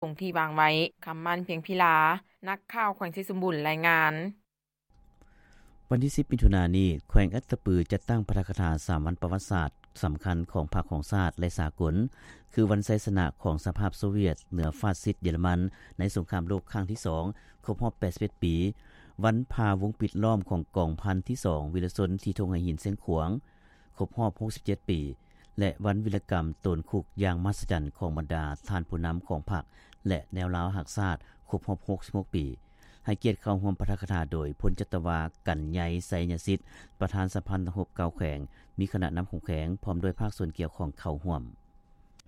ຄົງທີ່ວາງໄວ້. ຄຳໝັ້ນ ພຽງພິລາ ນັກຂ່າວແຂວງໄຊສົມບູນ ລາຍງານ. ວັນທີສິບ ມິຖຸນານີ້ ແຂວງອັດຕະປືຈັດຕັ້ງປາຖະກະຖາສາມວັນປະຫວັດສາດສຳຄັນຂອງພັກຂອງຊາດ ແລະ ສາກົນ ຄືວັນໄຊຊະນະຂອງສະຫະພາບໂຊວຽດເໜືອຟາດຊິດເຢຍລະມັນໃນສົງຄາມໂລກຄັ້ງທີສອງ ຄົບຮອບແປດສິບເອັດປີ, ວັນຜ່າວົງປິດລ້ອມຂອງກອງພັນທີສອງວິລະຊົນທີ່ທົ່ງໄຫຫີນຊຽງຂວາງ ຄົບຮອບຫົກສິບເຈັດປີ ແລະ ວັນວິລະກຳໂຕນຄຸກຢ່າງມະຫັດສະຈັນຂອງບັນດາທ່ານຜູ້ນຳຂອງພັກ ແລະ ແນວລາວຮັກຊາດ ຄົບຮອບຫົກສິບຫົກປີ. ໃຫ້ກຽດເຂົ້າຮ່ວມປາຖະກະຖາໂດຍ ພົນຈັດຕະວາ ກັນໃຍ ໄຊຍະສິດ ປະທານສະຫະພັນນັກຮົບເກົ່າແຂວງ, ມີຄະນະນຳຂອງແຂວງ ພ້ອມດ້ວຍພາກສ່ວນກ່ຽວຂ້ອງເຂົ້າຮ່ວມ.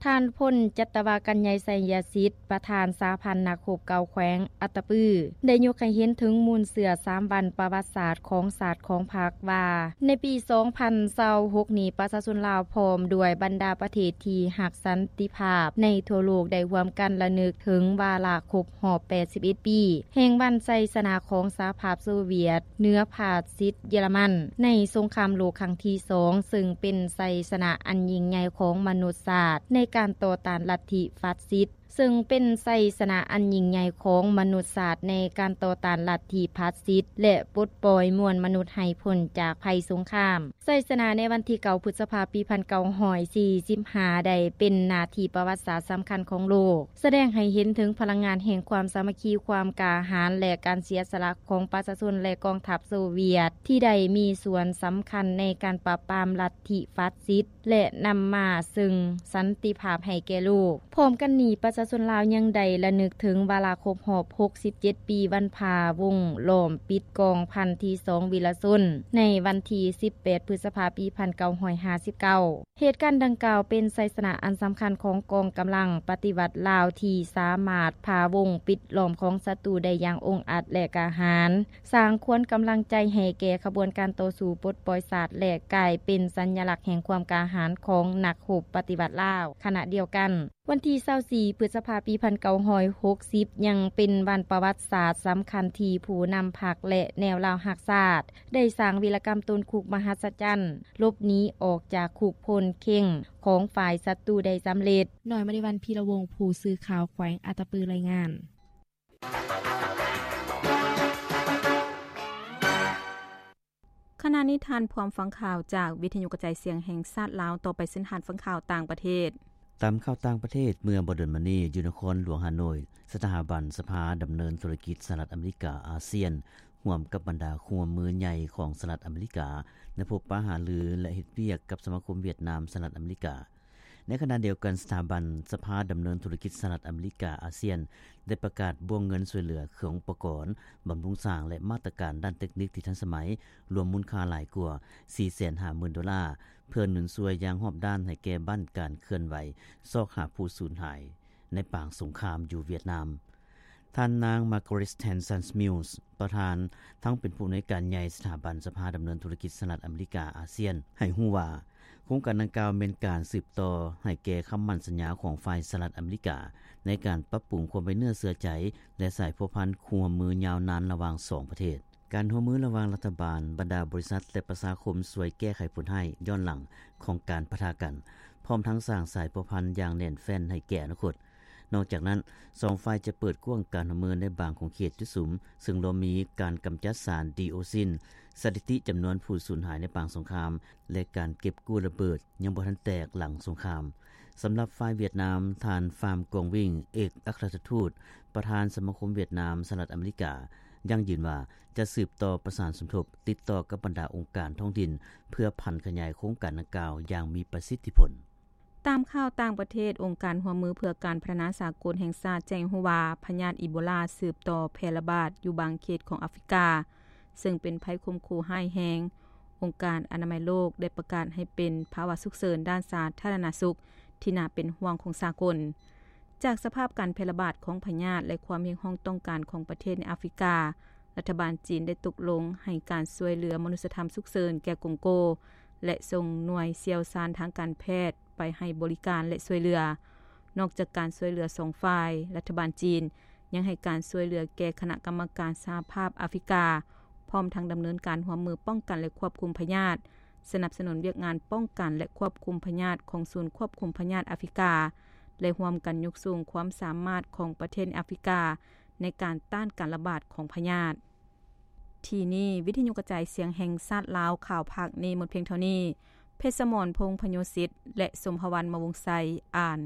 ທ່ານ ພົນຈັດຕະວາ ກັນໃຍ ໄຊຍະສິດ ປະທານສະຫະພັນນັກຮົບເກົ່າແຂວງອັດຕະປື ໄດ້ຍົກໃຫ້ເຫັນເຖິງມູນເຊື້ອສາມວັນປະຫວັດສາດຂອງຊາດຂອງພັກວ່າ ໃນປີສອງພັນຊາວຫົກນີ້ ປະຊາຊົນລາວພ້ອມດ້ວຍບັນດາປະເທດທີ່ຮັກສັນຕິພາບໃນທົ່ວໂລກ ໄດ້ຮ່ວມກັນລະນຶກເຖິງວາລະຄົບຮອບແປດສິບເອັດປີ ແຫ່ງວັນໄຊຊະນະຂອງສະຫະພາບໂຊວຽດເໜືອຟາດຊິດເຢຍລະມັນໃນສົງຄາມໂລກຄັ້ງທີສອງ ເຊິ່ງເປັນໄຊຊະນະອັນຍິ່ງໃຫຍ່ຂອງມະນຸດຊາດໃນການຕໍ່ຕ້ານລັດທິຟາດຊິດ ເຊິ່ງເປັນໄຊຊະນະອັນຍິ່ງໃຫຍ່ຂອງມະນຸດຊາດໃນການຕໍ່ຕ້ານລັດທິຟາດຊິດ ແລະ ປົດປ່ອຍມວນມະນຸດໃຫ້ພົ້ນຈາກໄພສົງຄາມ. ໄຊຊະນະໃນວັນທີເກົ້າ ພຶດສະພາ ປີໜຶ່ງພັນເກົ້າຮ້ອຍສີ່ສິບຫ້າ ໄດ້ເປັນໜ້າທີ່ປະຫວັດສາດສຳຄັນຂອງໂລກ, ສະແດງໃຫ້ເຫັນເຖິງພະລັງງານແຫ່ງຄວາມສາມັກຄີ, ຄວາມກ້າຫານ ແລະ ການເສຍສະຫຼະຂອງປະຊາຊົນ ແລະ ກອງທັບໂຊວຽດ ທີ່ໄດ້ມີສ່ວນສຳຄັນໃນການປາບປາມລັດທິຟາດຊິດ ແລະ ນຳມາເຊິ່ງສັນຕິພາບໃຫ້ແກ່ໂລກ. ພ້ອມກັນນີ້, ປະຊາຊົນລາວຍັງໄດ້ລະນຶກເຖິງວາລະຄົບຮອບຫົກສິບເຈັດປີ ວັນຜ່າວົງລ້ອມປິດກອງພັນທີສອງວິລະຊົນ ໃນວັນທີສິບແປດ ພຶດສະພາ ປີໜຶ່ງພັນເກົ້າຮ້ອຍຫ້າສິບເກົ້າ. ເຫດການດັ່ງກ່າວເປັນໄຊຊະນະອັນສຳຄັນຂອງກອງກຳລັງປະຕິວັດລາວ ທີ່ສາມາດຜ່າວົງປິດລ້ອມຂອງສັດຕູໄດ້ຢ່າງອົງອາດ ແລະ ກ້າຫານ, ສ້າງຂວັນກຳລັງໃຈໃຫ້ແກ່ຂະບວນການຕໍ່ສູ້ປົດປ່ອຍຊາດ ແລະ ກາຍເປັນສັນຍະລັກແຫ່ງຄວາມກ້າຫານຂອງນັກຮົບປະຕິວັດລາວ. ຂະນະດຽວກັນ, ວັນທີຊາວສີ່ ພຶດສະພາ ປີໜຶ່ງພັນເກົ້າຮ້ອຍຫົກສິບ ຍັງເປັນວັນປະຫວັດສາດສຳຄັນທີ່ຜູ້ນຳພັກ ແລະ ແນວລາວຮັກຊາດ ໄດ້ສ້າງວິລະກຳໂຕນຄຸກມະຫັດສະຈັນ ຫຼົບໜີອອກຈາກຄຸກໂພນເຄັງຂອງຝ່າຍສັດຕູໄດ້ສຳເລັດ. ນ້ອຍມະນີວັນ ພີລະວົງ ຜູ້ສື່ຂ່າວແຂວງອັດຕະປື ລາຍງານ. ຂະນະນີ້ທ່ານພ້ອມຟັງຂ່າວຈາກວິທະຍຸກະຈາຍສຽງແຫ່ງຊາດລາວ. ຕໍ່ໄປເຊີນທ່ານຟັງຂ່າວຕ່າງປະເທດ. ຕາມຂ່າວຕ່າງປະເທດ, ເມື່ອບໍ່ດົນມານີ້ ຢູ່ນະຄອນຫຼວງຮ່າໂນ້ຍ, ສະຖາບັນສະພາດຳເນີນທຸລະກິດສະຫະລັດອາເມລິກາ ອາຊຽນ ຮ່ວມກັບບັນດາຄູ່ຮ່ວມມືໃຫຍ່ຂອງສະຫະລັດອາເມລິກາ ໄດ້ພົບປະຫາລື ແລະ ເຮັດວຽກກັບສະມາຄົມຫວຽດນາມ ສະຫະລັດອາເມລິກາ. ໃນຂະນະດຽວກັນ, ສະຖາບັນສະພາດຳເນີນທຸລະກິດສະຫະລັດອາເມລິກາ ອາຊຽນ ໄດ້ປະກາດບ້ວງເງິນຊ່ວຍເຫຼືອເຄື່ອງອຸປະກອນ, ບຳລຸງສ້າງ ແລະ ມາດຕະການດ້ານເຕັກນິກທີ່ທັນສະໄໝ, ລວມມູນຄ່າຫຼາຍກວ່າສີ່ແສນຫ້າໝື່ນໂດລາ, ເພື່ອໜູນຊ່ວຍຢ່າງຮອບດ້ານໃຫ້ແກ່ບ້ານການເຄື່ອນໄຫວຊອກຫາຜູ້ສູນຫາຍໃນປາງສົງຄາມຢູ່ຫວຽດນາມ. ທ່ານນາງ Margaret Tenzan Mills ປະທານ ທັງເປັນຜູ້ອຳນວຍການໃຫຍ່ສະຖາບັນສະພາດຳເນີນທຸລະກິດສະຫະລັດອາເມລິກາ ອາຊຽນ ໃຫ້ຮູ້ວ່າ ໂຄງການດັ່ງກ່າວແມ່ນການສືບຕໍ່ໃຫ້ແກ່ຄຳໝັ້ນສັນຍາຂອງຝ່າຍສະຫະລັດອາເມລິກາ ໃນການປັບປຸງຄວາມໄວ້ເນື້ອເຊື່ອໃຈ ແລະ ສາຍພົວພັນຄູ່ຮ່ວມມືຍາວນານລະຫວ່າງສອງປະເທດ. ການຮ່ວມມືລະຫວ່າງລັດຖະບານ, ບັນດາບໍລິສັດ ແລະ ປະຊາຄົມຊ່ວຍແກ້ໄຂຜົນຮ້າຍຍ້ອນຫຼັງຂອງການປະທະກັນ, ພ້ອມທັງສ້າງສາຍພົວພັນຢ່າງແໜ້ນແຟ້ນໃຫ້ແກ່ອະນາຄົດ. ນອກຈາກນັ້ນ, ສອງຝ່າຍຈະເປີດກວ້າງການຮ່ວມມືໃນບາງຂົງເຂດຈຸດສຸມ, ເຊິ່ງລວມມີການກຳຈັດສານດີໂອຊິນ, ສະຖິຕິຈຳນວນຜູ້ສູນຫາຍໃນປາງສົງຄາມ ແລະ ການເກັບກູ້ລະເບີດຍັງບໍ່ທັນແຕກຫຼັງສົງຄາມ. ສຳລັບຝ່າຍຫວຽດນາມ, ທ່ານ Pham Quang Vinh ເອກອັກຄະລັດຖະທູດ ປະທານສະມາຄົມຫວຽດນາມ ສະຫະລັດອາເມລິກາ ຢັ້ງຢືນວ່າຈະສືບຕໍ່ປະສານສົມທົບ, ຕິດຕໍ່ກັບບັນດາອົງການທ້ອງຖິ່ນ ເພື່ອຜັນຂະຫຍາຍໂຄງການດັ່ງກ່າວຢ່າງມີປະສິດທິຜົນ. ຕາມຂ່າວຕ່າງປະເທດ, ອົງການຮ່ວມມືເພື່ອການພັດທະນາສາກົນແຫ່ງຊາດແຈ້ງໃຫ້ຮູ້ວ່າ ພະຍາດອີໂບລາສືບຕໍ່ແຜ່ລະບາດຢູ່ບາງເຂດຂອງອາຟຣິກາ, ເຊິ່ງເປັນໄພຂົ່ມຂູ່ຮ້າຍແຮງ. ອົງການອະນາໄມໂລກໄດ້ປະກາດໃຫ້ເປັນພາວະສຸກເສີນດ້ານສາທາລະນະສຸກທີ່ໜ້າເປັນຫ່ວງຂອງສາກົນ. ຈາກສະພາບການແຜ່ລະບາດຂອງພະຍາດ ແລະ ຄວາມຮຽກຮ້ອງຕ້ອງການຂອງປະເທດໃນອາຟຣິກາ, ລັດຖະບານຈີນໄດ້ຕົກລົງໃຫ້ການຊ່ວຍເຫຼືອມະນຸດສະທຳສຸກເສີນແກ່ກົງໂກ ແລະ ສົ່ງໜ່ວຍຊ່ຽວຊານທາງການແພດໄປໃຫ້ບໍລິການ ແລະ ຊ່ວຍເຫຼືອ. ນອກຈາກການຊ່ວຍເຫຼືອສອງຝ່າຍ, ລັດຖະບານຈີນຍັງໃຫ້ການຊ່ວຍເຫຼືອແກ່ຄະນະກຳມະການສະຫະພາບອາຟຣິກາ, ພ້ອມທັງດຳເນີນການຮ່ວມມືປ້ອງກັນ ແລະ ຄວບຄຸມພະຍາດ, ສະໜັບສະໜູນວຽກງານປ້ອງກັນ ແລະ ຄວບຄຸມພະຍາດຂອງສູນຄວບຄຸມພະຍາດອາຟຣິກາ, ແລະ ຮ່ວມກັນຍົກສູງຄວາມສາມາດຂອງປະເທດໃນອາຟຣິກາ ໃນການຕ້ານການລະບາດຂອງພະຍາດ. ທີ່ນີ້ ວິທະຍຸກະຈາຍສຽງແຫ່ງຊາດລາວ ຂ່າວພາກນີ້ໝົດພຽງເທົ່ານີ້. ເພັດສະໝອນ ພົງພະໂຍສິດ ແລະ ສົມພະວັນ ມະວົງໄຊ ອ່ານ.